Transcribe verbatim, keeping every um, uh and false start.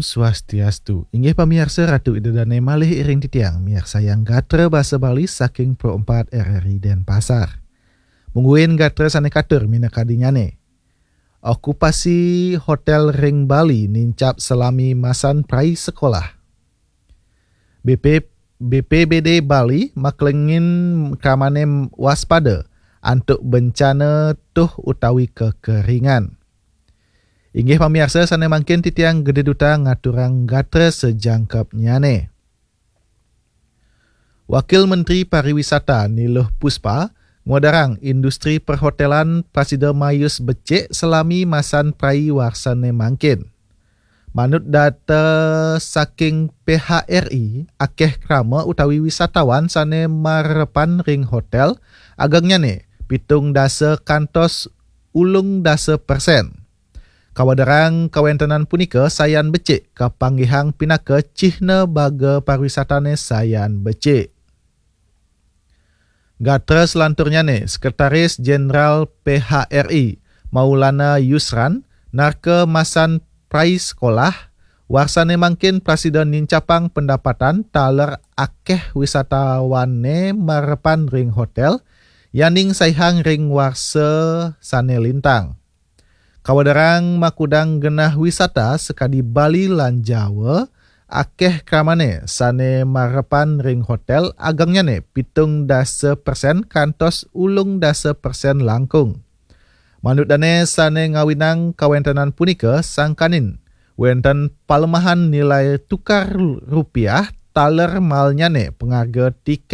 Swastiastu. Inggih pamiarsa, Ratu Ida Dane malih iring titiang miarsayang gatra basa Bali saking Pro empat R R I Denpasar. Mungguing gatra sane katur minakadinyane. Okupasi hotel ring Bali nincap salami masan prai sekolah. B P, B P B D Bali maklengin kramane waspada antuk bencana tuh utawi kekeringan. Inggih pamiarsa, sane mangkin titiang Gede Duta ngaturang gatra sejangkepnyane. Wakil Menteri Pariwisata Niluh Puspa ngwedarang industri perhotelan prasida mayus becik salami masan prai warsane mangkin. Manut data saking P H R I, akeh krama utawi wisatawan sane marepan ring hotel, agengnyane pitung dasa kantos ulung dasa persen. Kawedarang kawentenan punika sayan becik kapanggihang pinaka cihna baga pariwisatane sayan becik. Gatra selanturnyane, Sekretaris Jenderal P H R I Maulana Yusran narka masan prai sekolah, warsane mangkin prasida nincapang pendapatan taler akeh wisatawane marepan ring hotel, yaning saihang ring warsa sane lintang. Kawedarang makudang genah wisata sakadi Bali lan Jawa, akeh kramane sane marepan ring hotel, agengnyane pitung dasa persen kantos ulung dasa persen langkung. Manut dane sane ngawinang kawentenan punika, sangkaning wenten palemahan nilai tukar rupiah taler malnyane pangarga tiket